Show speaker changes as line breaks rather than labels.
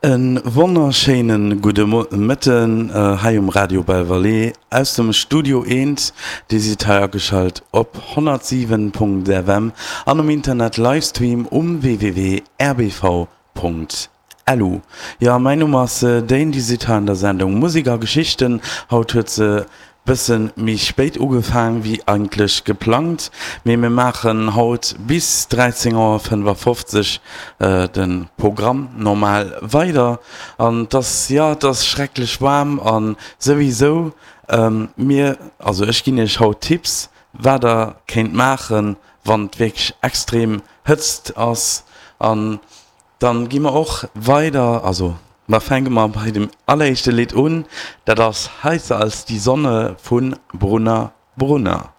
E wonnerschéine gudde Mëtten hei um Radio Belle-Vallée aus dem Studio Eent. Dir sidd hei ageschalt op 107.fm an um Internet Livestream um www.rbv.lu. Jo, mäin Numm ass Dane, Dir sidd hei an der Sendung Musek a Geschichten. Haut huet se Bëssen méi spéit ugefaang wéi eigentlech geplangt, mee mir maachen haut bis 13 Auer 55 de Programm normal weider. An et ass, jo, et ass schrecklech waarm a souwisou, mir, also ech ginn iech haut Tipps, wat der kéint maachen, wann et wierklech extrem Hëtzt ass. An Dann gi mer och weider, also da fänke mer bei dem alleréischte Lidd un, dat ass Heißer als die Sonne vu Brunner Brunner.